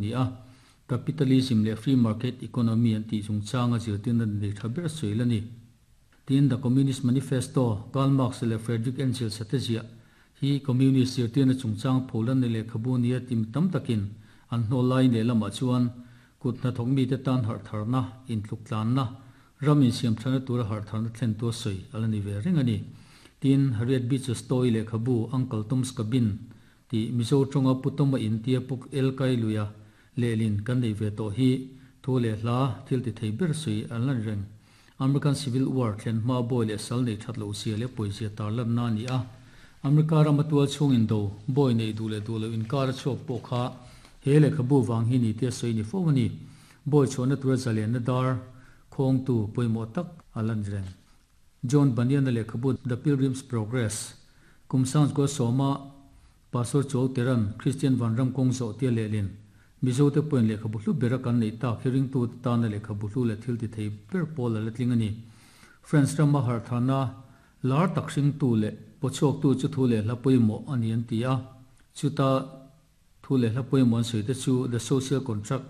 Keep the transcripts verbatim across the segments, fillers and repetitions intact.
ni a capitalism le free market economy an ti chungchanga zirtirna nei tha ber sawi la ni tin The Communist Manifesto Karl Marx le Friedrich Engels te ziah hi communist zirtirna chungchang pholan ni lehkhabu nia tim tam takin an hnawl lai leh lamah chuan kut hnathawk mite tan harh tharna intluk tlanna ram insiam thana tura harh tharna thlen tu sawi ala ni ve reng ani tin Harriet Beecher Stowe lehkhabu Uncle Tom's Cabin ti Mizo tonga putoma in tia puk el kai luya lehlin kan nei ve to hi thu le hla thil ti thei ber sui an lan reng American Civil War thlen hma boy le sal nei that lo sia le poisia tar lan na ni a America ramatua chung in do boy nei du le du lo in kar chok po kha he le khabu wang hi ni te soi ni fo ni boy chona tura zalen na dar khong tu poimo tak alan reng John Bunyan le khabu The Pilgrim's Progress kumsang ko soma pastor chol teran Christian vanram kong zo te le lin Mizo te point le khabu hlu bera kan nei ta hearing tu ta na le khabu hlu le thil ti thei per pol la tling ani France rama har thana lar taksing tu le pochok tu chu thu le hla poimo ani an ti a chuta thu le hla poimo an soi te chu The Social Contract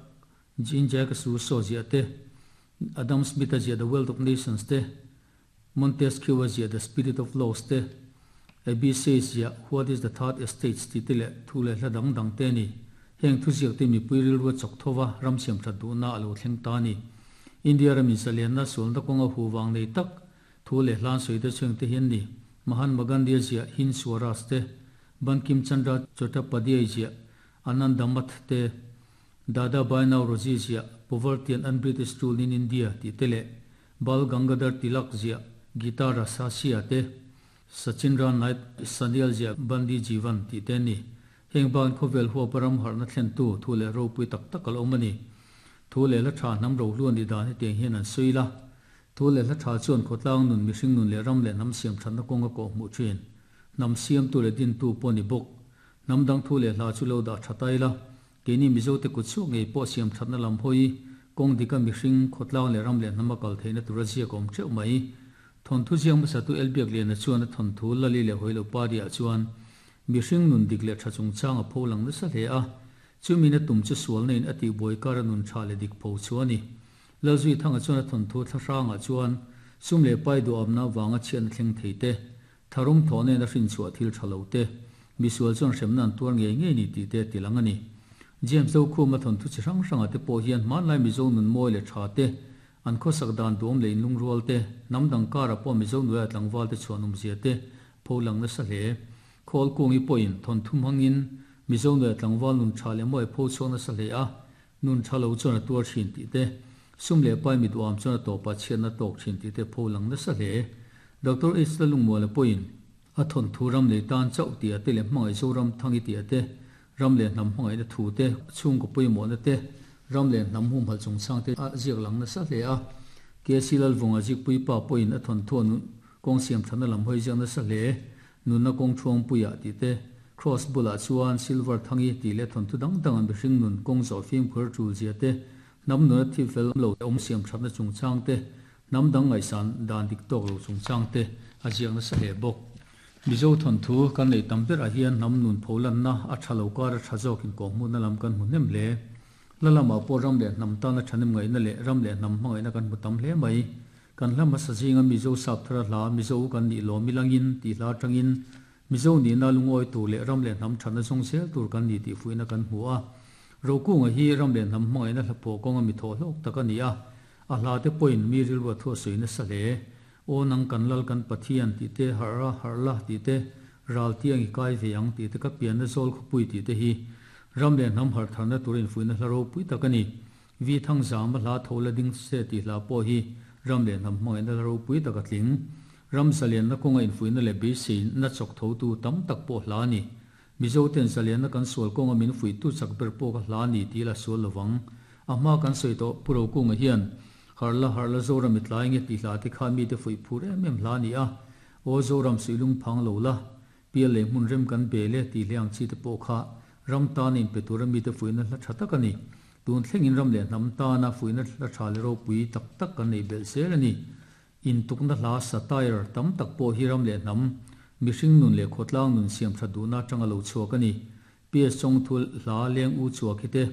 Jean Jacques Rousseau zia te Adam Smith zia The Wealth of Nations te Montesquieu zia The Spirit of Laws te A B C zia What is the Third Estate ti te le thu le hla dang dang te ni heng thu ziak te mi puiril ru chok thowa ram siam tha du na alo thleng ta ni India ram in zalian na sul na konga hu wang nei tak thu le hlan soi te chung te hian ni Mahatma Gandhi zia Hind Swaraj te Bankim Chandra Chattopadhyay zia Anandamath te Dada Bhai Naoroji zia Poverty and Un-British Rule in India ti te le Bal Gangadhar Tilak zia Gita Rasahasya te Sachindra Nath Sanyal zia Bandi Jivan ti te ni heng ban khovel huwa param har na thlen tu thu le ro pui tak tak al omani thu le la tha nam ro lu ni dan he hian an suila thu le la tha chuan khotlang nun mihring nun le ram le nam siam than na konga ko mu thin nam siam tu le din tu poni bok nam dang thu le hla chu lo da thatai la ke ni mizo te ku chu ngei po siam than na lam hoi kong dika mihring khotlang le ram le nama kal theina turazia kom cheu mai thon thu jiang ma sa tu elbiak le na chuan thon thu lali le hoilo pa dia chuan mihring nun dik le thachung chang a pholang na sa hle a chumi na tum chu sual nein ati boi kar nun tha le dik pho chuani lalzui thanga chuan a thon thu thlasanga chuan sum le pai du amna wanga chian thleng theite tharum thone na hrin chua thil thalo te misual chuan hremnan tuar nge nge ni ti te tilangani James zo khu ma thon thu chi hrang hranga te po hian man lai mizo nun moi le tha te an kho sak dan dum le in lung rual te namdang kara po mizo nuya tlangwal te chuanum zia te pholang na sa hle khol kungi poin thon thum hangin mizo nuya tlangwal nun tha le moi pho chuan na sa hle a nun thalo chuan a tuar thin ti te sum le pai mi duam chuan a to pa chian na tok thin ti te pholang na sa hle Doctor H lalung mo le poin a thon thu ram le tan chau ti ate le hmangai zoram thangi ti ate ram le nam hmangai na thu te chung ko pui mo na te ram le nam hum hal chung sang te a ziak lang na sa hle a ke silal vonga zik pui pa poin a thon thu nu kong siam thana lam hoi jang na sa hle nun na kong thuang puya ti te cross bula chuan silver thangi ti le thon thu dang dang an hring nun kong zo phim khur chul zia te nam nu thi fel lo om siam thana chung chang te nam dang ngai san dan dik tok lo chung chang te a ziak na sa hle bok mizo thon thu kan nei tamber a hian nam nun pholan na a thalo kar a thazok in ko mu na lam kan hmunem le lalama po ram le nam ta na thanem ngai na le ram le nam mangai na kan mu tam hle mai kan hlama sazinga mizo sap thara hla mizo kan ni lo milangin ti hla tangin mizo ni na lungoi tu le ram le nam thana song sel tur kan ni ti fuina kan hmu a roku nga hi ram le nam mangai na hlapo konga mi tho hlok takani a a hla te point mi ril wa tho soina sale o nang kan lal kan pathian ti te hara harla ti te ral tiang i kai veang ti te ka pian na zol khupui ti te hi ram le nam har thana turin fuina hlaro pui takani vi thang zam hla thola ding se ti hla po hi ram le nam mangai na ro pui taka tling ram salian na konga in fuina le be se na chok tho tu tam tak po hla ni mizo ten salian na kan sol konga min fui tu chak ber po ka hla ni ti la sol lawang ama kan soi to puro kunga hian harla harla zoram itlai nge ti hla te kha mi te fui phur em em hla ni a o zoram suilung phang lo la pial le mun rem kan be le ti hliang chi te po kha ram ta nin pe tur mi te fuina hla tha tak ani tun thleng in ram le nam ta na fuina hla tha le ro pui tak tak kan nei bel sel ani in tukna hla satire tam tak po hi ram le nam mihring nun le khotlang nun siam tha du na tanga lo chuak ani P S chong thul hla leng u chuak hi te